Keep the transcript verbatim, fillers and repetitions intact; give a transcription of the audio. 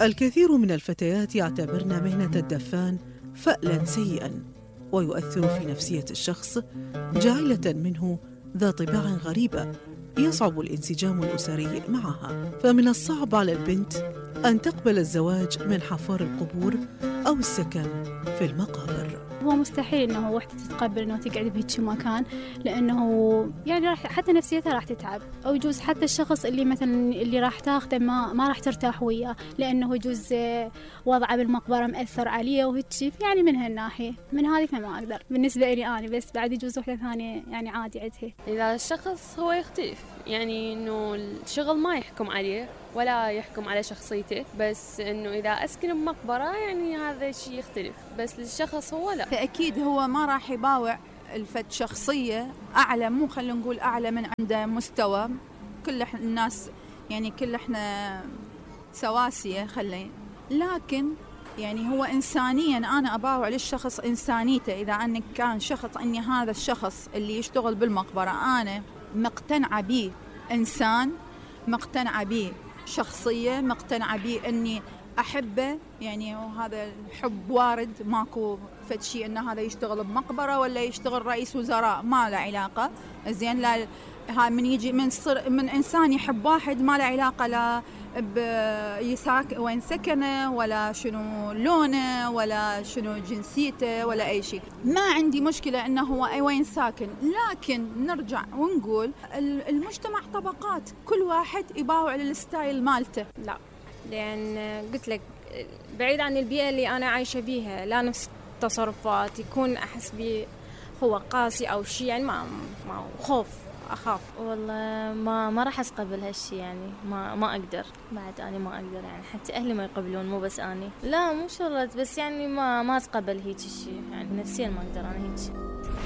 الكثير من الفتيات يعتبرن مهنة الدفان فألا سيئا، ويؤثر في نفسية الشخص جاعلة منه ذا طباع غريبة يصعب الانسجام الأسري معها. فمن الصعب على البنت أن تقبل الزواج من حفار القبور أو السكن في المقابر. هو مستحيل إنه وحدة تتقبل إنه تقعد بهيك مكان، لأنه يعني راح حتى نفسيتها راح تتعب، أو يجوز حتى الشخص اللي مثلا اللي راح تاخده ما ما راح ترتاح وياه، لأنه يجوز وضعه بالمقبرة مأثر عليه وهيك. يعني من هالناحية من هذه فما أقدر بالنسبة لي أنا، بس بعد يجوز وحدة ثانية يعني عادي عندها. إذا الشخص هو يختلف، يعني إنه الشغل ما يحكم عليه ولا يحكم على شخصيته، بس إنه إذا أسكن بمقبرة يعني هذا الشيء يختلف، بس للشخص هو لا. فأكيد هو ما راح يباوع الفت شخصية أعلى، مو خلينا نقول أعلى من عنده مستوى. كل الناس يعني كل إحنا سواسية خلين، لكن يعني هو إنسانيا أنا أباوع للشخص إنسانيته. إذا أنك كان شخص أني هذا الشخص اللي يشتغل بالمقبرة أنا مقتنعة به إنسان، مقتنعة به شخصية، مقتنعة به أني أحبه، يعني وهذا الحب وارد، ماكو فتشي أن هذا يشتغل بمقبرة ولا يشتغل رئيس وزراء، ما له علاقة. زين، لا ها من يجي من صر من إنسان يحب واحد ما له علاقة لا بيساك وين سكنه ولا شنو لونه ولا شنو جنسيته ولا أي شيء. ما عندي مشكلة إنه هو أي وين ساكن، لكن نرجع ونقول المجتمع طبقات، كل واحد يباوع للستايل مالته. لا، لأن قلت لك بعيد عن البيئة اللي أنا عايشة بيها، لا نفس التصرفات يكون أحس بي هو قاسي أو شيء، يعني ما ما خوف أخاف. والله ما ما راح أتقبل هالشي، يعني ما ما أقدر، بعد أنا ما أقدر، يعني حتى أهلي ما يقبلون، مو بس أنا. لا مو شرط، بس يعني ما ما أتقبل هيك الشيء، يعني نفسيا ما أقدر أنا هيك.